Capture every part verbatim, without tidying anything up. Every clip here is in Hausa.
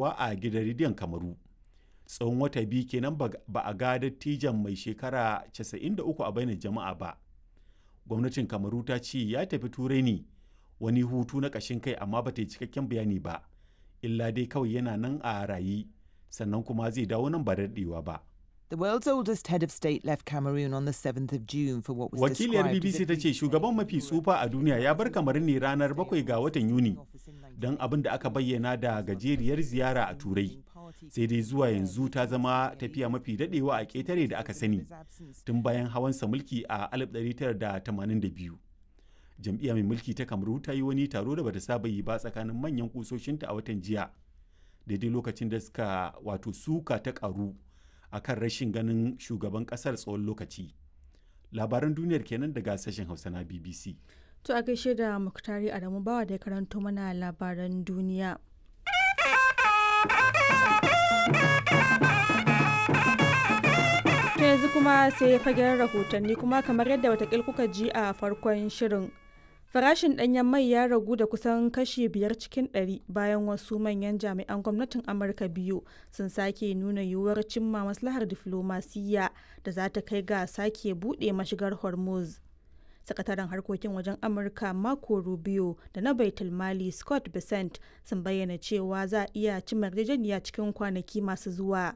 a gidan rediyon Kamaru. Tsawon wata biyu kenan ba a ga dattijon mai shekara casa'in da uku a bainar jama'a ba. Gwamnatin Kamaru ta ce ya tafi Turai ne wani hutu na ƙashin kai amma ba ta yi cikakken bayani ba, illa dai kawai yana nan a raye sannan kuma zai dawo nan ba da daɗewa ba. The world's oldest head of state left Cameroon on the seventh of June for what was Wakiliyar described as B B C a ta ce shugaban mafi tsufa a duniya ya bar Kamaru ne ranar bakwai ga watan Yuni don abin da aka bayyana da gajeriyar ziyara a Turai. Sai dai zuwa yanzu ta zama tafiya mafi daɗewa a ƙetare da aka sani tun bayan hawansa mulki a alif ɗari tara da tamanin da biyu. Jam'iyya mai mulki ta Kamaru ta yi wani taro da bata saba yi ba tsakanin manyan kusoshinta a watan jiya, daidai lokacin da suka wato suka ta karu akan rashin ganin shugaban kasar tsawon lokaci. Labaran duniyar kenan daga sashen Hausa na B B C. To a gaishe da Muktari Adamu Bawa da ya karanto mana labaran duniya. To yanzu kuma sai fagen rahotanni, kuma kamar yadda watakil kuka ji a farkon shirin. Farashin ɗanyen mai ya ragu da kusan kashi biyar cikin ɗari bayan wasu manyan jami'an gwamnatin Amurka biyu sun sake nuna yiwuwar cimma maslahar diflomasiyya da za ta kai ga sake buɗe mashigar Hormuz. Sakataren harkokin wajen Amurka Marco Rubio da na Baitul Mali Scott Bessent sun bayyana cewa za a iya cimma yarjejeniya cikin kwanaki masu zuwa.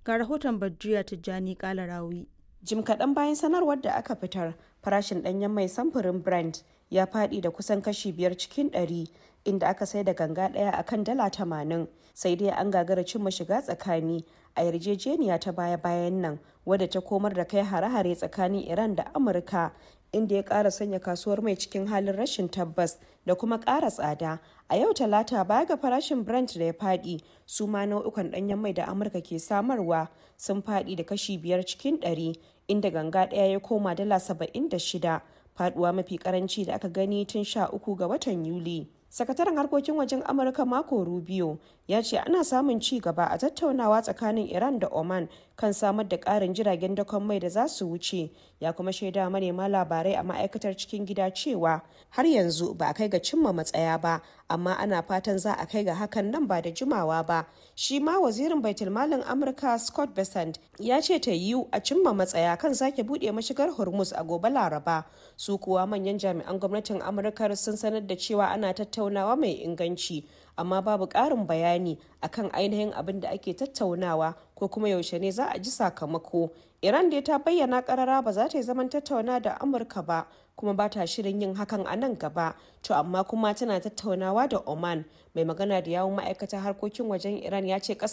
Ga rahoton Badriya Tijjani Kalarawi. Jim kaɗan bayan sanarwar da aka fitar, farashin ɗanyen mai samfurin Brent ya faɗi da kusan kashi biyar cikin ɗari, inda aka sai da ganga ɗaya a kan dala tamanin. Sai dai an gagara cimma shiga tsakani a yarjejeniya ta baya-bayan nan, wadda ta komar da kai hare-hare tsakanin Iran da Amurka, inda ya ƙara sanya kasuwar mai cikin halin rashin tabbas da kuma ƙara tsada. A yau Talata, baya ga farashin Brent da ya faɗi, su ma nau'ukan ɗanyen mai da Amurka ke samarwa sun faɗi da kashi biyar cikin ɗari, inda ganga ɗaya ya koma dala saba'in da shida, faɗuwa mafi karanci da aka gani tun sha uku ga watan Yuli. Sakataren harkokin wajen Amurka Marco Rubio ya ce ana samun ci gaba a tattaunawa tsakanin Iran da Oman kan samar da ƙarin jiragen dakon mai da za su wuce. Ya kuma shaida manema labarai a ma'aikatar cikin gida cewa har yanzu ba a kai ga cimma matsaya ba, amma ana fatan za a kai ga hakan nan ba da jimawa ba. Shi ma wazirin baitulmalin Amurka Scott Bessent ya ce ta yiwu a cimma matsaya kan sake buɗe mashigar Hormuz a gobe Laraba. Su kuwa manyan jami'an gwamnatin Amurka sun sanar da cewa ana tattaunawa mai inganci, amma babu ƙarin bayani akan ainihin abin da ake tattaunawa ko kuma yaushe ne za a ji sakamako. Iran dai ta bayyana karara ba za ta yi zaman tattauna da Amurka ba, kuma ba ta shirin yin hakan a nan gaba. To amma kuma tana tattaunawa da Oman. Mai magana da yawun ma'aikatar harkokin wajen Iran ya ce kasar